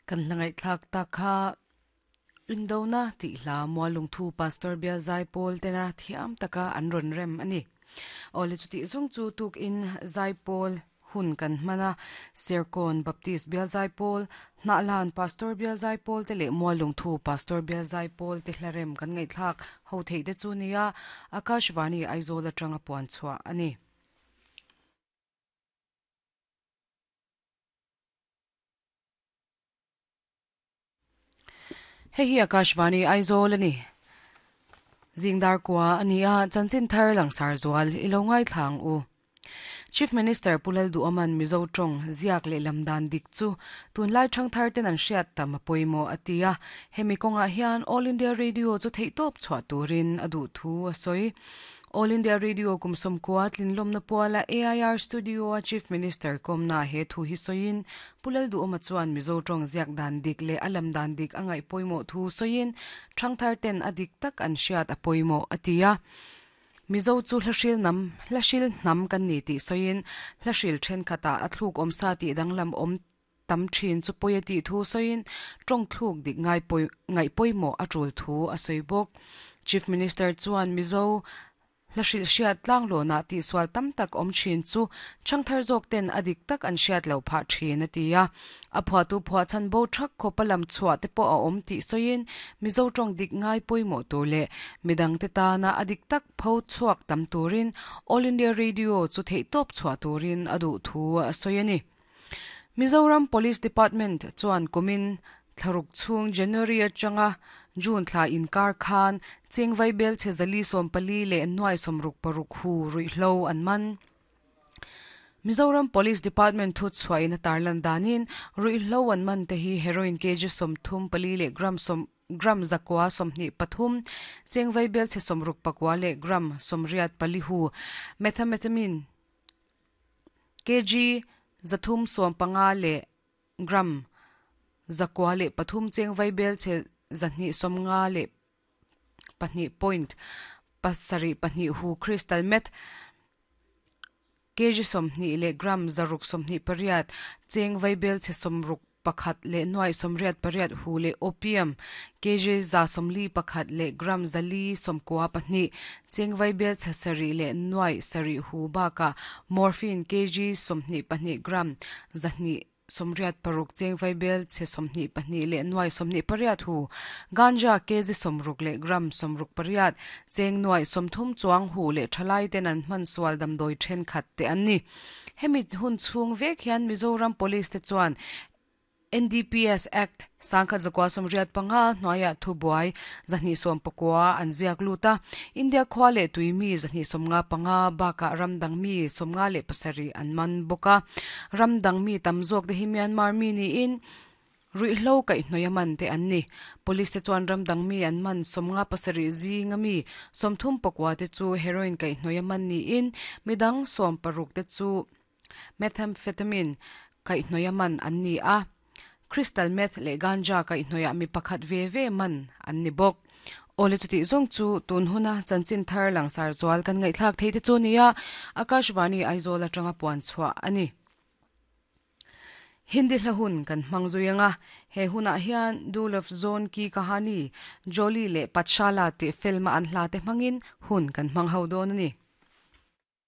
Kan hla ngaihthlak tak kha Indona tih hla Mualungthu Pastor Bial Zaipawl tena thiam taka an rawn rem a ni. Awle chutih zawng chu tukin Zaipawl hun kan hman a, Serkawn Baptist Bial Zaipawl, Hnahlan Pastor Bial Zaipawl te leh Mualungthu Pastor Bial Zaipawl te hla rem kan ngaihthlak ho theih te chu nia Akashvani Aizawl atanga puan chhuah a ni. Hei hi Akashvani Aizawl a ni. Zingdar kua a ni a, chanchin thar langsar zual i lo ngaithla ang u. Chief Minister Pu Lalduhawman Mizo tawng ziak leh lam dan dik chu tunlai thangthar ten an hriat tam a pawimawh a ti a, hemi kawngah hian All India Radio chu theihtawp chhuah turin a duh thu a sawi. All India Radio kum sawmkua tlinlawmna puala AIR Studio-a Chief Minister kawmna he thu hi sawiin Pu Lalduhawma chuan Mizo tawng ziak dan dik leh a lam dan dik a ngaih pawimawh thu sawiin thangthar ten a dik tak an hriat a pawimawh a ti a. Mizo chu hlahril nam hlahril hnam kan ni tih sawiin hlahril thenkhatah a thluk awmsa tih danglam awm tam thin chu pawi a tih thu sawiin tawng thluk dik ngai pawi ngaih pawimawh a tul thu a sawi bawk. Chief Minister chuan Mizo hla hrilh hriat tlanglawnah tihsual tam tak awm thin chu chhangthar zawk ten a dik tak an hriat loh phah thin a ti a. A phuahtu phuah chhan bo thak khawpa lam chhuah te pawh a awm tih sawiin Mizo tawng dik ngai pawimawh tur leh midangte tana a dik tak pho chhuak tam turin All India Radio chu theihtawp chhuah turin a duh thu a sawi a ni. Mizoram Police Department chuan kumin thlaruk chhung January atanga June thla inkar khan Chengvai Belchhe zali 14 leh nuai 66 hu ruihhlo an man. Mizoram Police Department thu chhuahin a tarlan danin ruihhlo an man te hi heroin kg 34 leh gram gram 123, Chengvai Belchhe 64 leh gram 84 hu methamphetamine Kg 315 leh gram 903 cheng vaibelchhe 252 point 72 hu crystal meth Kg 20 leh gram 628 cheng vaibelchhe 60 pakhat leh nuai 88 hu leh opium kg 141 leh gram 492 cheng vaibelchhe 7 leh nuai 7 hu bakah morphine kg 22 gram 286 cheng vaibelchhe 22 leh nuai 28 hu ganja kg 60 leh gram 68 cheng nuai 30 chuang hu leh thalai ten an hman sual damdawi thenkhat te an ni. Hemi hun chhung vek hian Mizoram Police te chuan NDPS Act sangkhat zakua 85 hnuaiah thubuai 219 an ziak lut a, India khua leh tui mi 255 bakah ram dang mi 57 an man bawk a. Ram dang mi tam zawk te hi Myanmar mi niin ruihhlo kaihhnawih a man te an ni. Police te chuan ram dang mi an man 57 zinga mi 39 te chu heroin kaihhnawih a man niin midang 16 te chu methamphetamine kaihhnawih a man an ni a. Crystal meth leh ganja kaihhnawihah mi pakhat ve ve man an ni bawk. Awle chutih zawng chu tun huna chanchin thar langsar zual kan ngaihthlak thei te chu nia Akashvani Aizawl atanga puan chhuah a ni. Hindi hla hun kan hmang zui ang a, he hunah hian Do Love Zone Ki Kahani, Jolly leh Pathshala tih film a an hla te hmangin hun kan hmang ho dawn a ni.